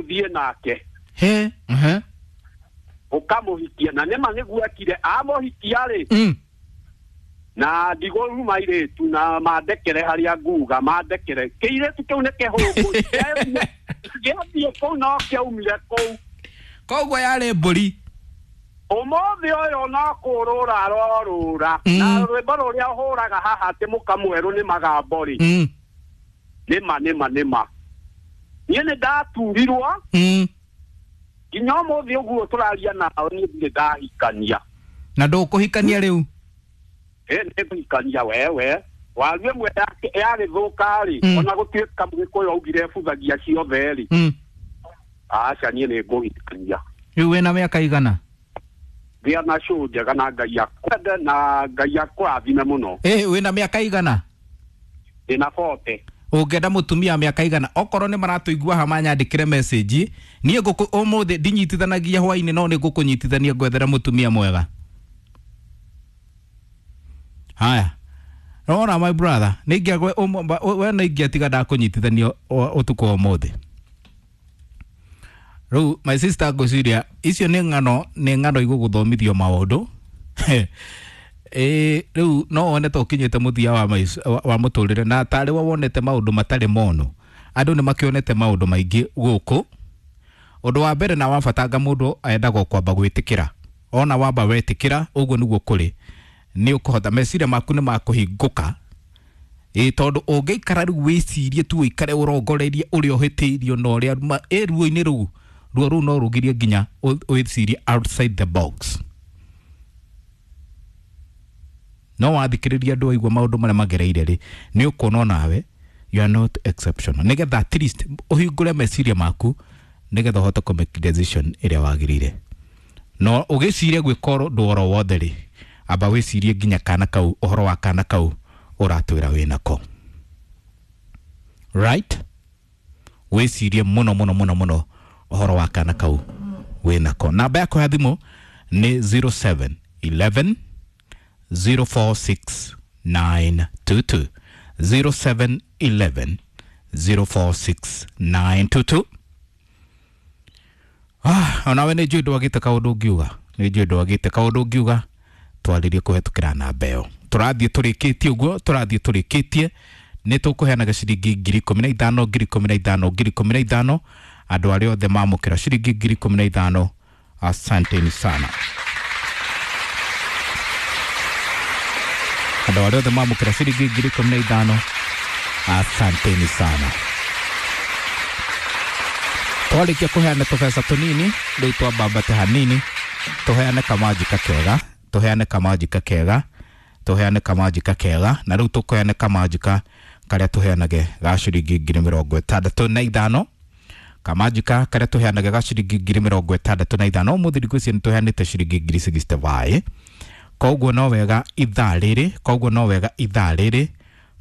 Ũthiĩ nake. He. Ũkamũhikia na nĩma nĩguo ekire amũhikia rĩ. Na ndigũruma irĩtu na mandekere harĩa nguga mandekere kĩirĩtu kĩu nĩ kĩhũngũ gĩathiĩ kũu no kĩaumire kũu. Koguo yarĩ mbũri. Ũmũthĩ ũyũ no kũrũra arorũra na rwĩmbo rũrĩa ũhũraga haha atĩ mũkamwerũ nĩ magambo rĩ. Nĩma nĩma nĩma niĩ nĩ ndaturirwo nginya ũmũthĩ ũguo tũraria nao niĩ ndirĩ ndahikania. Na ndũkũhikania rĩu? Nĩngũhikania wewe waru ĩmwe yagĩthũka rĩ ona gũtuĩka Mũgĩkũyũ augire ebuthagia ciothe rĩ. Aca niĩ nĩngũhikania. Rĩu wĩna mĩaka igana? Ngĩa na cũ njega na Ngai akwende na Ngai akũrathime mũno. Wĩna mĩaka igana? Ndĩna 40. Ũngĩenda mũtumia mĩaka igana okorwo nĩ maratũigua ha manyandĩkĩre message niĩ ngũkũ ũmũthĩ ndinyitithanagia hwainĩ no nĩ ngũkũnyitithania ngwethere mũtumia mwega. Haya. Rora my brother, nĩingĩagwe we nĩingĩatiga ndakũnyitithania ũtukũ wa ũmũthĩ. Rĩu my sister ngwĩciria icio nĩ ng'ano nĩ ng'ano igũgũthomithio maũndũ. Rĩu no wone ta ũkinyĩte mũthia wa mũtũrĩre na tarĩ we wonete maũndũ matarĩ mono. Andũ nĩ makĩonete maũndũ maingĩ gũkũ. Ũndũ wa mbere na wa bata nga mũndũ endaga kwamba gwĩtĩkĩra. Ona wamba wetĩkĩra ũguo nĩguo kũrĩ. Nĩ ũkũhota meciria maku nĩ makũhingũka. Tondũ ũngĩikara rĩu wĩcirie tu ũikare ũrongoreirie ũrĩa ũhĩtĩirio na ũrĩa ruo-inĩ rũu ruo rũu no rũgirie nginya wĩcirie outside the box. No wathikĩrĩria andũ aigua maũndũ marĩa magereire rĩ nĩ ũkuona nawe you are not exceptional nĩgetha at least ũhingũre meciria maku nĩgetha ũhote kũ make decision ĩrĩa wagĩrĩire. No ũgĩcirie gwĩka ũndũ oro wothe rĩ amba wĩcirie nginya kana kau ũhoro wa kana kau ũratwĩra wĩnako. Right? Wĩcirie mũno mũno mũno mũno ũhoro wa kana kau wĩnako. Namba yakwa ya thimũ nĩ 07 11 046 922 07 11 046 922. Onawe nĩ njũĩ ndwagĩte kaũndũ ũngiuga, nĩ njũĩ ndwagĩte kaũndũ ũngiuga twarĩrie kũhetũkĩra namba ĩyo. Tũrathiĩ tũrĩkĩtie ũguo, tũrathiĩ tũrĩkĩtie nĩ tũkũheanaga ciringi 15,000 15,000 15,000 andũ arĩa othe mamũkĩra ciringi 15,000. Asanteni sana andũ arĩa othe mamũkĩra ciringi 15,000, asanteni sana. Twarĩkia kũheana tũbeca tũnini rĩu twambambate hanini tũheane kamanjika kega, tũheane kamanjika kega, tũheane kamanjika kega na rĩu tũkũheane kamanjika karĩa tũheanage ga ciringi 65,000. Kamanjika karĩa tũheanage ga ciringi 65,000 ũmũthĩ ngwĩciria nĩ tũheanĩte ciringi 65,000. Koguo no wega ithaa rĩrĩ, koguo no wega ithaa rĩrĩ,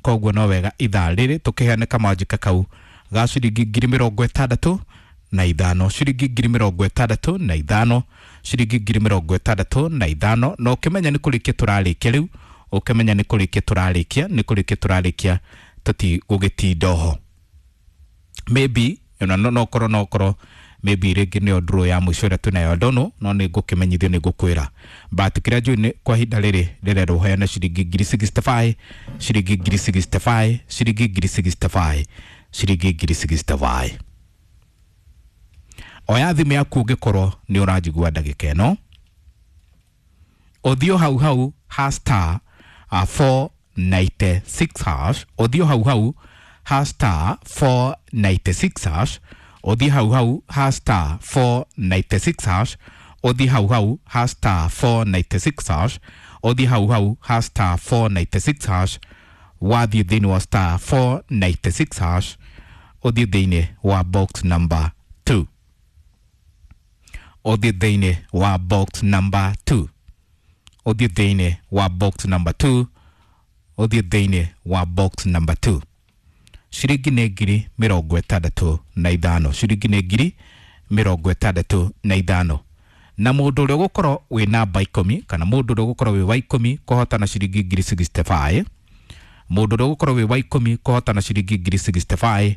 koguo no wega ithaa rĩrĩ tũkĩheane kamanjika kau ga ciringi 65,000, ciringi 65,000, ciringi 65,000. Na ũkĩmenya nĩ kũrĩkia tũrarĩkia rĩu, ũkĩmenya nĩ kũrĩkia tũrarĩkia, nĩ kũrĩkia tũrarĩkia tũtigũgĩtinda oho. Maybe ona no korwo no korwo maybe rĩngĩ nĩyo draw ya mũico ĩrĩa twĩnayo ndono no nĩ ngũkĩmenyithio nĩ ngũkwĩra but kĩrĩa njũĩ nĩ kwa ihinda rĩrĩ rĩrerwo heane ciringi 65,000, ciringi 65,000, ciringi 65,000, ciringi 65,000. Oya thimũ yaku ũngĩkorwo nĩ ũranjigua ndagĩka ĩno ũthiĩ hau hau ha star 496 hash, ũthiĩ hau hau ha star 496 hash, ũthiĩ hau hau ha star 496 hash, ũthiĩ hau hau ha star 496 hash, ũthiĩ hau hau ha star 496 hash, wathiĩ thĩinĩ wa star 496 hash, ũthiĩ thĩinĩ wa box number 2, ũthiĩ thĩinĩ wa box number 2, ũthiĩ thĩinĩ wa box number 2, ũthiĩ thĩinĩ wa box number 2. Ciringi nĩ 65,000, ciringi nĩ 65,000. Na mũndũ ũrĩa ũgũkorwo wĩ namba 10 kana mũndũ ũrĩa ũgũkorwo wĩ wa 10 kũhotana ciringi 65,000, mũndũ ũrĩa ũgũkorwo wĩ wa 10 kũhotana ciringi 65,000,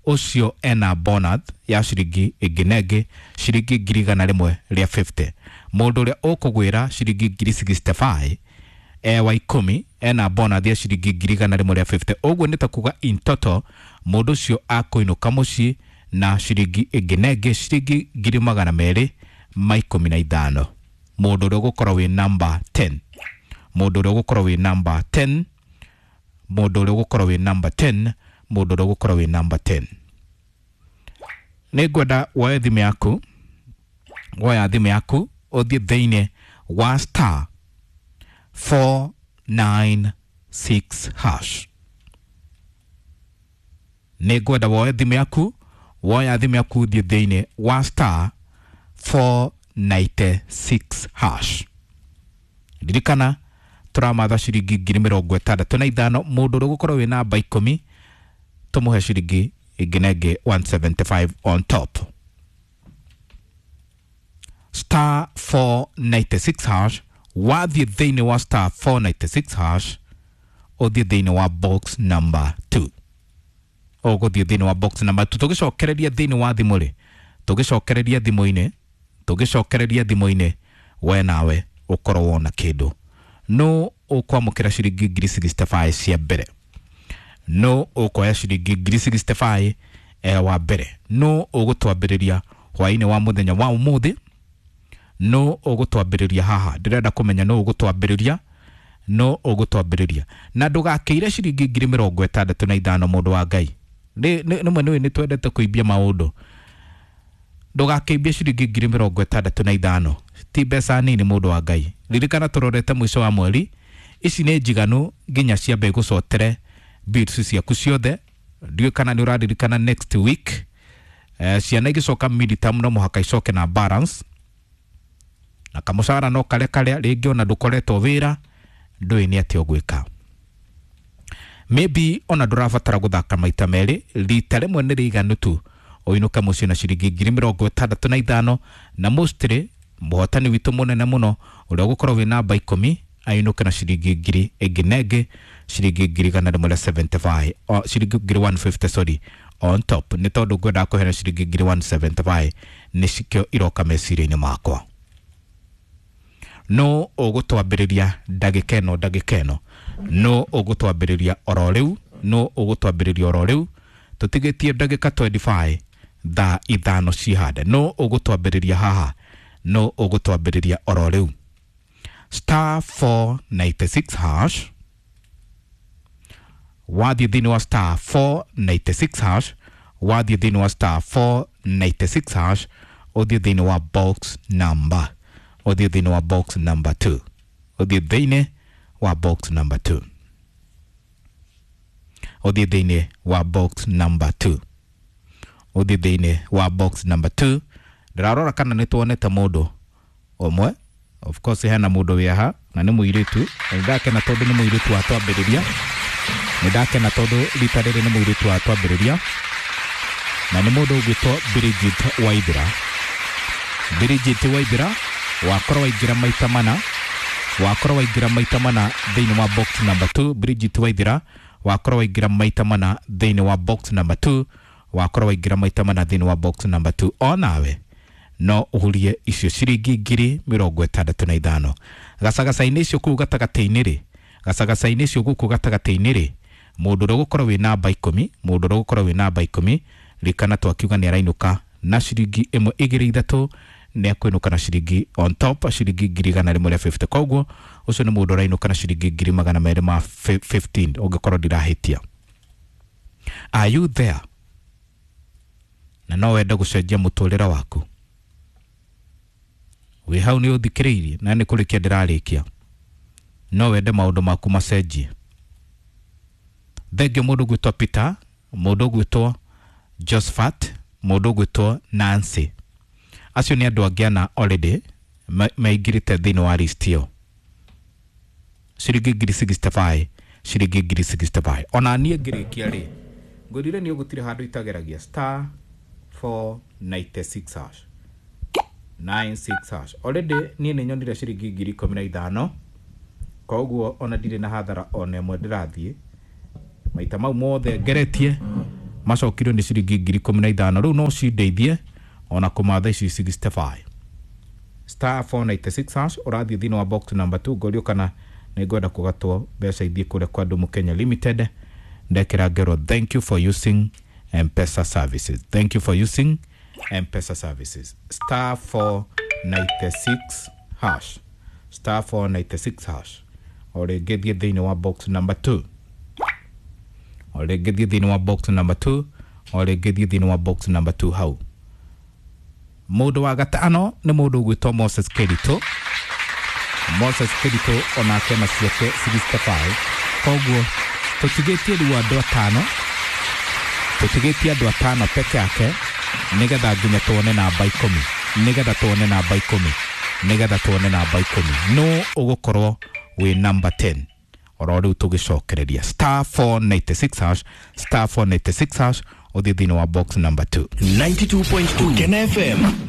Ũcio ena bonus ya ciringi ĩngĩ na ĩngĩ ciringi 150,000. Mũndũ ũrĩa ũkũgwĩra ciringi 65,000 e wa 10 ena bonus ya ciringi 150,000. Ũguo nĩ ta kuga in total mũndũ ũcio akũinũka mũciĩ na ciringi ĩngĩ na ĩngĩ ciringi 215,000. Mũndũ ũrĩa ũgũkorwo wĩ number 10, mũndũ ũrĩa ũgũkorwo wĩ number 10, mũndũ ũrĩa ũgũkorwo wĩ number 10, mũndũ ũrĩa ũgũkorwo wĩ number 10. Nĩ ngwenda woe thimũ yaku, woya thimũ yaku ũthiĩ thĩinĩ wa star 496 hash. Nĩ ngwenda woe thimũ yaku, woya thimũ yaku ũthiĩ thĩinĩ wa star 496 hash. Ririkana tũramatha ciringi 65,000. Mũndũ ũrĩa ũgũkorwo wĩ namba 10 tũmũhe ciringi ĩngĩ na ĩngĩ 175 on top. Star 496 hash. Wathiĩ thĩinĩ wa star 496 hash ũthiĩ thĩinĩ wa box number 2. Ũgũthiĩ thĩinĩ wa box number 2. Tũgĩcokereria thĩinĩ wa thimũ rĩ, tũgĩcokereria thimũ-inĩ, tũgĩcokereria thimũ-inĩ, we nawe ũkorwo wona kĩndũ. No ũkwamũkĩra ciringi 65,000 cia mbere. No ũkoya ciringi 65,000 wa mbere. No ũgũtwambĩrĩria hwaĩ-inĩ wa mũthenya wa ũmũthĩ. No ũgũtwambĩrĩria haha. Ndĩrenda kũmenya no ũgũtwambĩrĩria, no ũgũtwambĩrĩria. Na ndũgakĩire ciringi 65,000 mũndũ wa Ngai. Nĩmwe nĩũĩ nĩ twendete kũimbia maũndũ. Ndũgakĩimbie ciringi 65,000. Ti mbeca nini mũndũ wa Ngai. Ririkana tũrorete mũico wa mweri. Ici nĩ njiganu nginya ciambe igũcotere bills ciaku ciothe. Ndiũĩ kana nĩ ũraririkana next week ciana igĩcoka midterm no mũhaka icoke na balance, na kamũcara no karĩa karĩa rĩngĩ ona ndũkoretwo wĩra, ndũĩ nĩ atĩa ũgwĩka. Maybe ona ndũrabatara gũthaka maita merĩ, rita rĩmwe nĩ rĩiganu tu ũinũke mũciĩ na ciringi 65,000. Na mostly mũhotani witũ mũnene mũno ũrĩa ũgũkorwo wĩ namba 10 ainũke na ciringi ngiri ĩngĩ na ĩngĩ ciringi 175, ciringi 150 sorry, on top. Nĩ tondũ ngwendaga kũheana ciringi 175 nĩ cikĩo iroka meciria-inĩ makwa. No ũgũtwambĩrĩria ndagĩka ĩno, ndagĩka ĩno. No ũgũtwambĩrĩria oro rĩu, no ũgũtwambĩrĩria oro rĩu. Tũtigĩtie ndagĩka 25 thaa 5 cihande. No ũgũtwambĩrĩria haha, no ũgũtwambĩrĩria oro rĩu. Star 496 hash. Wathiĩ thĩinĩ wa star 496 hash, wathiĩ thĩinĩ wa star 496 hash, ũthiĩ thĩinĩ wa box number, ũthiĩ thĩinĩ wa box number 2, ũthiĩ thĩinĩ wa box number 2, ũthiĩ thĩinĩ wa box number 2, ũthiĩ thĩinĩ wa box number 2. Ndĩrarora kana nĩ tuonete mũndũ ũmwe. Of course hena mũndũ wĩ haha na nĩ mũirĩtu. Na nĩndakena tondũ nĩ mũirĩtu watwambĩrĩria. Nĩndakena tondũ rita rĩrĩ nĩ mũirĩtu watwambĩrĩria. Na nĩ mũndũ ũgwĩtwo Bridget Waithera. Bridget Waithera wakorwo waingĩra maita mana, wakorwo waingĩra maita mana thĩinĩ wa box number 2. Bridget Waithera wakorwo waingĩra maita mana thĩinĩ wa box number 2, wakorwo waingĩra maita mana thĩinĩ wa box number 2. Onawe no ũhurie icio ciringi 65,000. Gacagaca-inĩ icio kũu gatagatĩ-inĩ rĩ, gacagaca-inĩ icio gũkũ gatagatĩ-inĩ rĩ, mũndũ ũrĩa ũgũkorwo wĩ namba 10, mũndũ ũrĩa ũgũkorwo wĩ namba 10, ririkana twakiuga nĩ arainũka na ciringi 1 2 3, nĩ akũinũka na ciringi on top ciringi 150,000. Koguo ũcio nĩ mũndũ ũrainũka na ciringi 215,000 ũngĩkorwo ndirahĩtia. Are you there? Na no wende gũcenjia mũtũrĩre waku. Wĩ hau nĩ ũthikĩrĩirie na nĩ kũrĩkia ndĩrarĩkia. No wende maũndũ maku macenjie. Thengio mũndũ ũgwĩtwo Peter, mũndũ ũgwĩtwo Josephat, mũndũ ũgwĩtwo Nancy. Acio nĩ andũ angĩ ana already maingĩrĩte thĩinĩ wa list ĩyo. Ciringi 65,000, ciringi 65,000. Ona niĩ ngĩrĩkia rĩ, ngwĩrire nĩ ũgũtirĩ handũ itageragia star 496 hash 96 hash. Already niĩ nĩ nyonire ciringi 15,000. Koguo ona ndirĩ na hathara ona ĩmwe ndĩrathiĩ. Maita mau mothe ngeretie Macokirio nĩ ciringi 15,000. Rĩu no cindeithie ona kũmatha ici 65. Star 496 hash, ũrathiĩ thĩinĩ wa box number 2. Ngorio kana nĩ ngwenda kũgatwo mbeca ithiĩ kũrĩa kwa Ndumu Kenya Limited. Ndekĩra ngero, "Thank you for using M-Pesa services, thank you for using M-Pesa services." Star 496 hash, star 496 hash. O rĩngĩ thiĩ thĩinĩ wa box number 2. O rĩngĩ thiĩ thĩinĩ wa box number 2. O rĩngĩ thiĩ thĩinĩ wa box number 2. Hau mũndũ wa gatano nĩ mũndũ ũgwĩtwo Moses Kerito. Moses Kerito onake na ciake 65. Koguo tũtigĩtie rĩu andũ atano, tũtigĩtie andũ atano peke yake, nĩgetha nginya tuone namba 10, nĩgetha tuone namba 10, nĩgetha tuone namba 10, no ũgũkorwo wĩ number 10. Oro rĩu tũgĩcokereria, star 496 hash, star 496 hash, ũthiĩ thĩinĩ wa box number 2. 92.2 Kena FM.